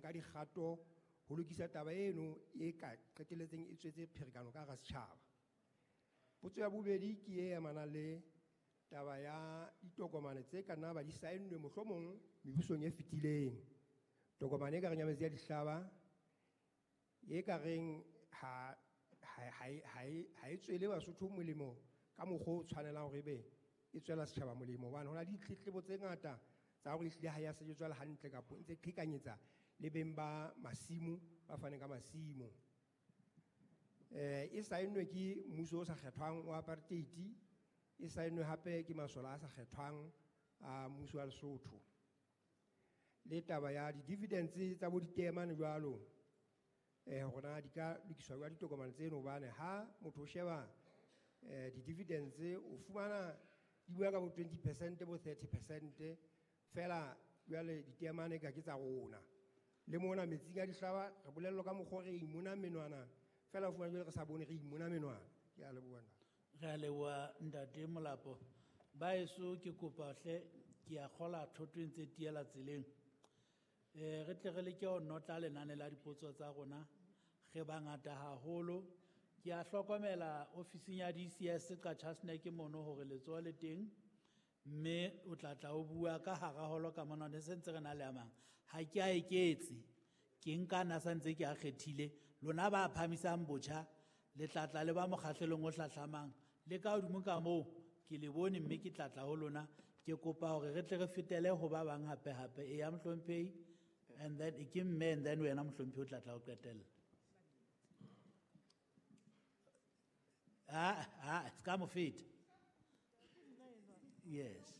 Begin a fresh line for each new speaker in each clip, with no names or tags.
nka dikgato ho lokisa taba eno e ka qetelletseng e tswetse pherekano ka hara setjhaba. Potso ya bobedi ke e amanang le taba ya ditokomane tse ka nna ba di saennwe mohlomong mebusong e fetileng. Tokomane e ka reng ya metsi a dihlaba, e ka reng ha e tswele Basotho molemo ka mokgwa o tshwanelang hore ebe e tswela setjhaba molemo, hobane ho na le ditletlebo tse ngata tsa hore ehlile ha ya sebetswa le hantle kapo e ntse qhekanyetsa le beng ba masimo ba faneng ka masimo. E saennwe ke mmuso o sa kgethwang wa apartheid, e saennwe hape ke masole a sa kgethwang a mmuso wa Lesotho. Le taba ya di-dividends tsa bo diteemane jwalo, hore na di ka lokiswa jwang ditokomane tseno, hobane ha motho o sheba di-dividends o fumana di bua ka bo 20%, bo 30%, fela jwale diteemane ka ke tsa rona. Le mona metsing a dihlaba re bolellwa ka mokgwa re imona menwana, fela o fumana jwale re sa bone re imona menwana. Ke a leboha nna.
Re a leboha ntate Molapo. Baeso ke kopa hle, ke a kgola thoto e ntse tiela tseleng. Re tle re leke ho notla lenane la dipotso tsa rona, re bangata haholo. Ke a hlokomela ofising ya DCS Qacha's Nek mono hore letsoho le teng, mme o tla tla o bua ka hara holo ka mona, ne se ntse re na le a mang. Ha ke a eketse, ke nka na sa ntse ke a kgethile. Lona ba phahamisang botjha, le tla tla le ba mokgahlelong o hlahlamang. Le ka hodimo ka moo, ke le bone mme ke tla tla ho lona. Ke kopa hore re tle re fetele ho ba bang hape hape. Eya mohlomphehi, and then ke mme, and then wena mohlomphehi o tla tla o qetella. Ah, ska mo feta. Yes.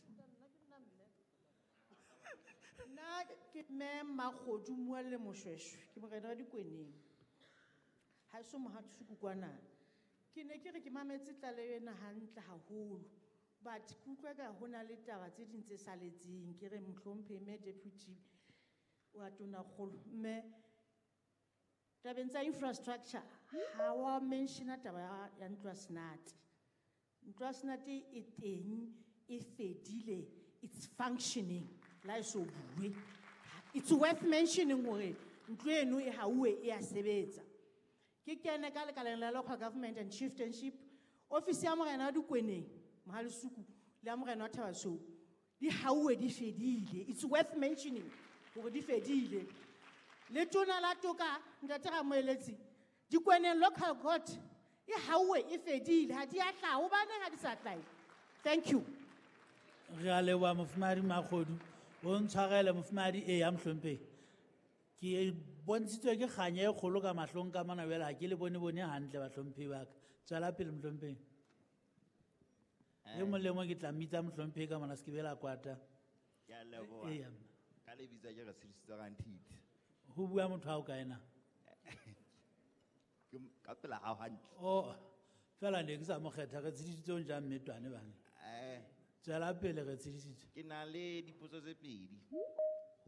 Nna ke mme Makgodu Mualle Moshweshwe, ke morena wa Dikweneng. Ha eso mohatisi kwana. Ke ne ke re ke mametse tlaleho ena hantle haholo, but ke utlwa ka ho na le taba tse ding tse saletseng. Ke re mohlomphehi mme deputy wa Tonakgolo, mme tabeng tsa infrastructure ha wa mentiona taba ya ntlo ya Senate. Ntlo ya Senate e teng, e fedile, it's functioning. La e so bue. It's worth mentioning hore ntlo eno e hauwe e a sebetsa. Ke kene ka lekaleng la local government and chieftainship, office ya morena wa Dikweneng, Mohalesuku, le ya morena wa Thabasweu, di hauwe di fedile. It's worth mentioning hore di fedile. Le tona la toka, ntate Ramoeletsi, Dikweneng local court e hauwe e fedile, ha di a hlaha. Hobaneng ha di sa hlahe? Thank you.
Re a leboha mofumahadi Makgodu. O ntshwarele mofumahadi e ya mohlomphehi. Ke bontshitswe ke kganya e kgolo ka mahlong ka mona jwale, ha ke le bone bone hantle bahlomphehi ba ka. Tswela pele mohlomphehi. E mong le mong ke tla mmitsa mohlomphehi ka mona, se ke be la kwata.
Ke a leboha.
Eya, mme.
Ka lebitso ke re tshedisitse Rantiti.
Ho bua motho ha o kae na?
Ke ka pela hao hantle.
Oh, fela ne ke sa mo kgetha, re tshedisitse o njang mmetwane bana? Tswela pele re tshedisitse.
Ke na le dipotso tse pedi.